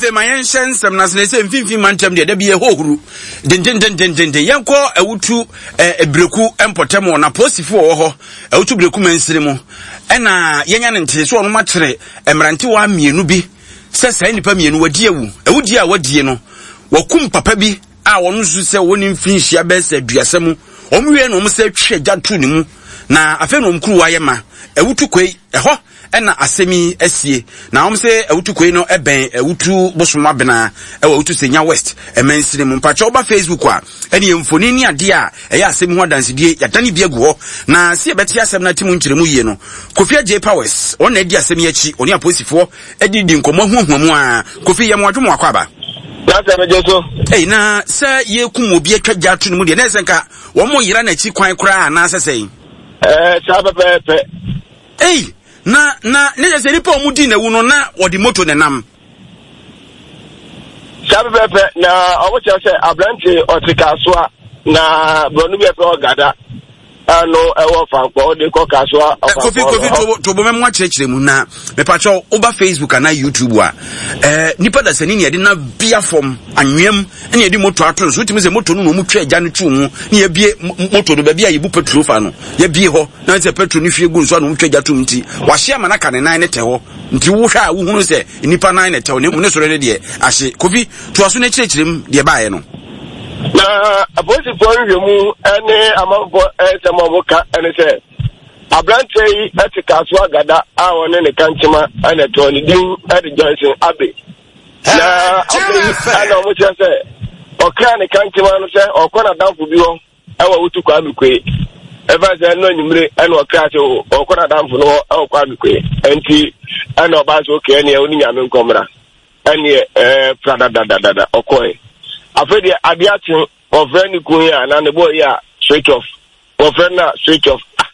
Afei ma yɛnhyɛ nsɛm no ase na ɛsɛ mfimfini mantam deɛ da bi ɛhɔ huru dendendendenden. Yɛnkɔ Awutu eh, Breku mpɔtam wɔ na apolisifoɔ wɔ hɔ Awutu Breku mansini mu ɛna yɛnya ne ntee so ɔnom akyere mmerantewa mmienu bi sɛ saa nnipa mmienu wadi awu. Awudie a wadie no wakum papa bi a wɔn nso sɛ wɔn mfinhyia bɛyɛ sɛ aduasa mu. Wɔn wie na wɔn sɛ twe agya to ne mu na afei na wɔn kuruwa yɛ ma. Awutu kwei ɛhɔ ɛna asɛm yi asie. Na wɔn sɛ Awutu Kwei no ɛbɛn Awutu Bosom Abena ɛwɔ Awutu Senya West ɛmansini mu. Mpakyɛ woba Facebook a ɛne yɛ mfoni ne adeɛ a ɛyɛ asɛm ho adansedie yɛadane bi agu hɔ. Na sɛ yɛbɛte asɛm no ate mu nkyerɛmu yie no, Kofi Adjei Powers ɔno na adi asɛm yi akyi, ɔne apolisifoɔ ɛde di nkɔmmɔ ahuahua mu a. Kofi yɛ mo adwo mo akɔ aba. Na sɛ megye so. Ei, na sɛ yɛkum obi atwa gya ato ne mu deɛ, na ɛsɛ nka wɔn yera n'akyi kwan koraa anaasɛ sɛn? Ɛɛ, saa pɛpɛɛpɛ. Ei! Na, na, ne kyerɛ sɛ nipa a wɔn di n'awu no, na wɔde moto na ɛnam. Saa pɛpɛɛpɛ, na wɔn kyerɛ sɛ aberante ɔte Kasoa, na borɔno bi a yɛfrɛ hɔ Gada, ɛno ɛwɔ Fankpɔ, ɔde kɔ Kasoa Ɔfankpɔ. Kofi, Kofi, tobo, tobo mɛmo akyerɛkyerɛ mu na mepakyɛw woba Facebook anaa YouTube a, ɛɛ, nipa dasani ne yɛde na bia fam anweam ne yɛde moto ato no so, wotumi sɛ moto no na wɔn twa agya no tu mu ne yɛbie moto no baabi a yɛbu petrol fa no, yɛbie hɔ. Na sɛ petro no hwie gu nso a na wɔtwa gya tom nti, wahye ama no aka ne nan ne tɛ hɔ. Nti wohwɛ a wohunu sɛ nnipa nan na ɛtɛw, na mmom ne soro no deɛ ahye. Kofi, toa so na kyerɛkyerɛ mu deɛ ɛbaeɛ no. Na apolisifoɔ nhwehwɛmu ne amanfoɔ nsɛm a wɔka ne sɛ aberanteɛ yi te Kasoa Gada a ɔne ne kankyema na ɛtɔn ne din de Johnson Abe. Na afei ɛna wɔkyerɛ sɛ ɔkra ne kankyema no sɛ ɔkɔ n'adamfo bi hɔ ɛwɔ Wotu Kwame Kwe. Ɛfa sɛ ɛno anwummere ɛna ɔkra sɛ ɔkɔ n'adamfo no hɔ ɛwɔ Kwame Kwe. Ɛnti ɛna ɔbaa sɛ okɛ ɛneɛ ɔne nyame nkɔmmra. Ɛneɛ ɛɛ pra dadadadada ɔkɔɛ. Afei deɛ adeɛ akye wɔfrɛ ne kun yi a na ne bɔɔ yi a switch off. Wɔfrɛ no a switch off. Ah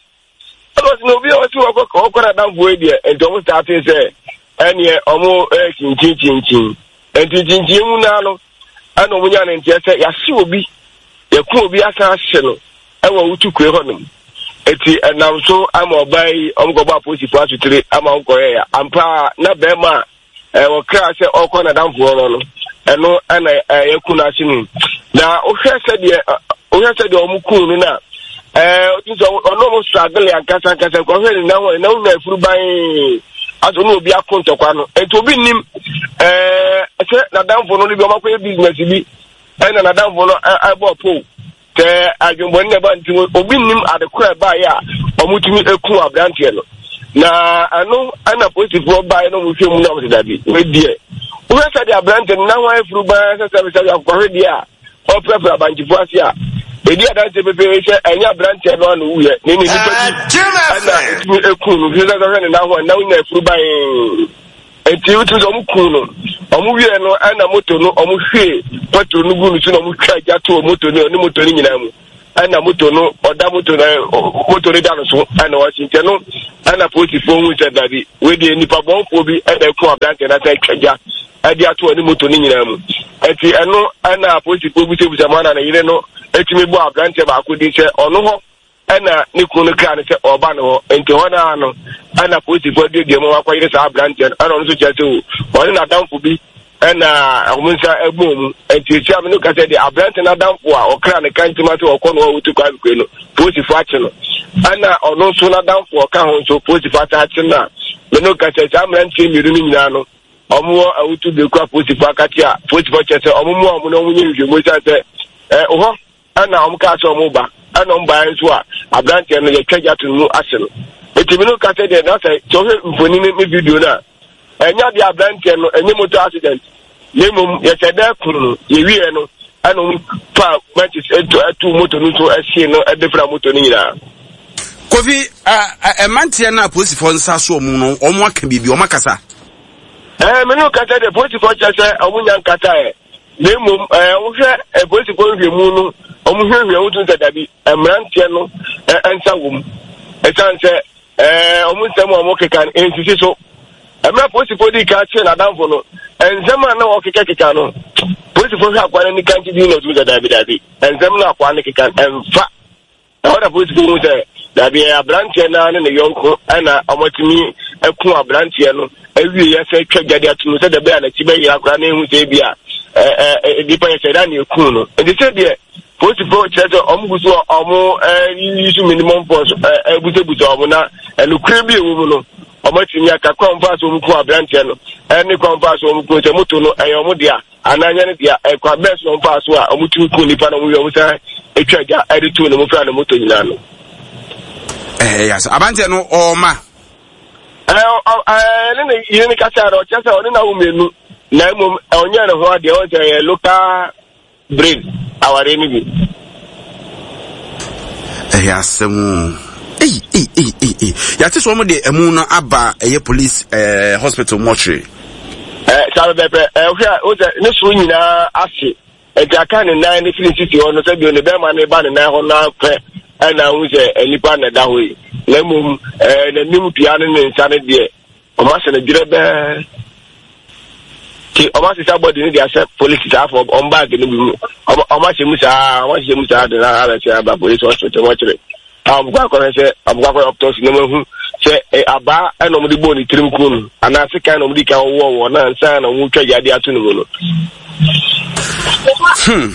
Ɛna ɔsi na obi a ɔsi ɔkɔ ɔkɔ n'adamfo yi deɛ nti ɔmo starte sɛ ɛneɛ ɔmo ɛkyinkyin kyinkyin nti kyinkyin mu naa no ɛna ɔmo nya ne nteɛ sɛ yɛahye obi yɛko obi asan ahye no ɛwɔ wutu kue hɔ nom eti ɛnam so ama ɔbaa yi ɔmo kɔbɔ apolisifoɔ asotire ama ɔmo kɔyɛ ya ampa na bɛrima a Wɔkraa sɛ ɔrekɔ n'adamfo hɔ no no, ɛno na yɛku no ase no. Na wohwɛ sɛdeɛ wohwɛ sɛdeɛ wɔn kuu no na ɛɛ wotu sɛ ɔno wɔn struggle ankasa ankasa nkɔhwɛ ne nan hɔ ne nan nyinaa efuru ban asɛ ɔno obi ako ntɔkwa no nti obi nim ɛɛ sɛ n'adamfo no de bi wɔn akɔyɛ business bi ɛna n'adamfo no ɛbɔ pole. Sɛ adwemmɔne na ɛba nti obi nnim ade koro a ɛbaeɛ a wɔtumi ku aberanteɛ no. Na ɛno ɛna polisifoɔ baeɛ na wɔhwɛ mu na wɔsɛ dabi wei deɛ wohwɛ sɛdeɛ aberanteɛ no na ho ayɛ furu baa sɛ sɛ sɛ akokɔhwe deɛ a ɔprapra abankyefoɔ ase a ɛdi adanseɛ pefee sɛ ɛnyɛ aberanteɛ no ano wuyɛ ne ne nipa bi ɛna ɛtumi eku no hwɛ sɛ hwɛ ne nan ho a na wonya afuru ban Enti wotumi sɛ wɔn kuu no. Wɔn wie no ɛna moto no wɔn hwie petrol no gu no so na wɔn twa gya too moto no ne moto no nyinaa mu. Ɛna moto no ɔda moto no moto no da no so ɛna wɔasi nti ɛno ɛna polisifoɔ hu sɛ dabi wei deɛ nipa bɔnfoɔ bi ɛna ɛku aberanteɛ no asan atwa gya ɛde ato ɔne moto no nyinaa mu. Enti ɛno ɛna polisifoɔ busabusa mu ana ne yere no etumi bɔ aberanteɛ baako din sɛ ɔno hɔ Ɛnna ne kunu no kraa no sɛ ɔreba ne hɔ. Enti hɔ no ara no, ɛnna polisifo aduadua mu akɔyere saa aberanteɛ no. Ɛnna ɔno nso kyerɛ sɛ o, ɔne n'adamfo bi ɛnna wɔn nsa bɔɔ mu. Enti esia me no ka sɛ deɛ aberante no adamfo a ɔkra ne kantima sɛ ɔkɔ no a ɔtu kwan kue no, polisifo akye no. Ɛnna ɔno nso n'adamfo a ɔka ho nso, polisifo asan akye no a me no ka sɛ saa mmeranteɛ mmienu no nyinaa no, wɔwɔ awutu bereku a polisifo akakye a polisifo kyerɛ sɛ wɔn mmoa wɔn na wɔnyɛ nhwehwɛmu esiane sɛ ɛ hɔ ɛna wɔn kaa sɛ wɔn ba ɛna wɔn baeɛ nso a aberanteɛ no yɛtwa gya to no mu ase no eti mi no ka sɛ deɛ na sɛ sɛ ɔhwɛ mfoni ne video no a ɛnyɛ adeɛ aberanteɛ no ɛnyɛ motor accident na mmom yɛsɛ dɛ kun no yɛwieɛ no ɛna wɔn fa matches ɛto ɛto moto no so ɛhye no ɛde fira moto no nyinaa. Kofi, mmeranteɛ no a polisifoɔ nsa so wɔn no, wɔn aka biribi, wɔn akasa. Ɛɛ, me ne kasa deɛ polisifoɔ kyerɛ sɛ wɔn nya nkasa ɛ. Na mmom ɛɛ wohwɛ apolisifoɔ nhwɛmu no, wɔn hwehwɛ wɔn tumi sɛ dabi mmeranteɛ no nsa wɔ mu. Ɛsan sɛ ɛɛ wɔn nsɛm a wɔkeka no nsisi so. Mmerɛ apolisifoɔ di kan kyerɛ n'adamfo no, nsɛm a na wɔkekakeka no, polisifoɔ hwɛ akoa no ani kan gyidi na ɔtumi sɛ dabi dabi nsɛm no akoa no keka no ɛmfa. Ɛhɔ na polisifo hu sɛ dabi ɛyɛ aberanteɛ no ara ne ne yɔnko na wɔatumi aku aberanteɛ no awie yɛ sɛ twa gya de ato mu sɛ dɛbɛ a n'akyi bɛyera koraa na ehu sɛ ebi a ɛɛ nipa yɛ sɛ ɛda na eku no. Nti sɛ deɛ polisifoɔ kyerɛ sɛ wɔn gu so a wɔn ɛɛ yi minimum force ɛɛ ɛbusabusa wɔn na ɛnukuri bi ɛwɔ mu no wɔn atumi aka kwan fa so wɔn ku aberanteɛ no ɛne kwan fa so wɔn ku sɛ moto no ɛyɛ wɔn dea anaa nyɛ no dea ɛkwan bɛɛ so wɔn fa so a wɔn tumi ku nipa na wɔn wie wɔn san atwa gya ɛde tu ne mo fira ne moto nyinaa no. Ɛɛ yasa aberanteɛ no ɔɔma. Ɛɛ ɛɛ ne ne yere ne kasa no ɔkyerɛ sɛ ɔne na wo mmienu na mmom ɔnyɛ ne ho adeɛ ɔn sɛ ɛyɛ local brain awareɛ no bi. Ɛyɛ asɛm o. Ei ei ei ei ei. Yɛate sɛ wɔn de ɛmu no aba ɛyɛ police ɛɛ eh, hospital mortuary. Ɛɛ eh, saa bɛbɛ ɛɛ eh, hwɛ a o sɛ ne soro nyinaa ase nti aka ne nan ne firi sisi hɔ no sɛ bio ne bɛrima ne ba ne nan hɔ no apɛ ɛna ahu sɛ nipa na ɛda hɔ yi na mmom ɛɛ n'anim dua ne ne nsa no deɛ Wɔn ahyɛ no dwerɛbɛɛ. Ti wɔn asesa bɔdi no de ahyɛ polisi saa fɔ wɔn baagi no bi mu. Wɔn wɔn ahyɛ mu saa wɔn ahyehyɛ mu saa de na abɛsɛ aba polisi hospital wɔn kyerɛ. A wɔn kɔ akɔhwɛ sɛ wɔn kɔ akɔyɛ autopsy na wɔn ahu sɛ ɛ abaa ɛna wɔn de bɔɔ ne tirim kun no anaa sekan na wɔn de kan wɔwɔ wɔ na nsa na wɔn twa gya de ato ne mu no. Hmm.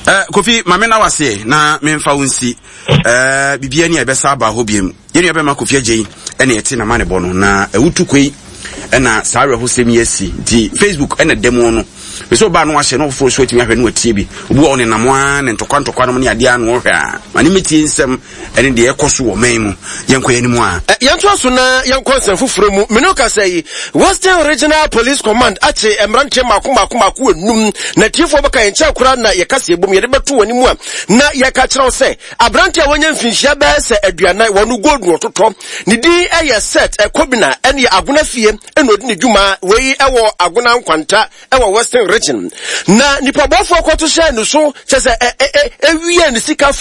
Uh, Kofi, maame na waseɛ na memfa wo nsi uh, biribiara ni a ɛbɛsa aba hɔ biam. Yɛn nua bɛma Kofi Agyei ɛna ɛte na ma ne bɔ no na awutu koi ɛna saa awerɛhosɛm yi asi nti Facebook ɛna da mu no bɛsɛ ɔbaa no ahyɛ na ɔfoforɔ so atumi ahwɛ no watie bi obi wɔ ne nam a ne ntɔkwa ntɔkwa nom ne adeɛ ano ɔhwɛ a ma ne mɛtie nsɛm ɛne deɛ ɛkɔ so wɔ man mu yɛnkɔ yɛn mu a Yɛntoa so na yɛnkɔ nsɛm foforɔ mu. Me ne wo kasa yi, Western Regional Police Command akye mmeranteɛ mmaako mmaako mmaako enum. Na atiefoɔ bɛka yɛn nkyɛn koraa na yɛka sɛ yɛbom yɛde bɛto wɔn anim a na yɛka kyerɛ wo sɛ Aberante a wanya mfinhyia bɛyɛ sɛ aduanan, wɔn gold na ɔtotɔ. Ne din yɛ Seth Kobina, ɛne Agona fie na ɔdi ne dwuma. Wei wɔ Agona Nkwanta wɔ Western Region. Na nipabɔfoɔ kɔto hyɛɛ ne so, kyɛ sɛ ɛwiee ne sika.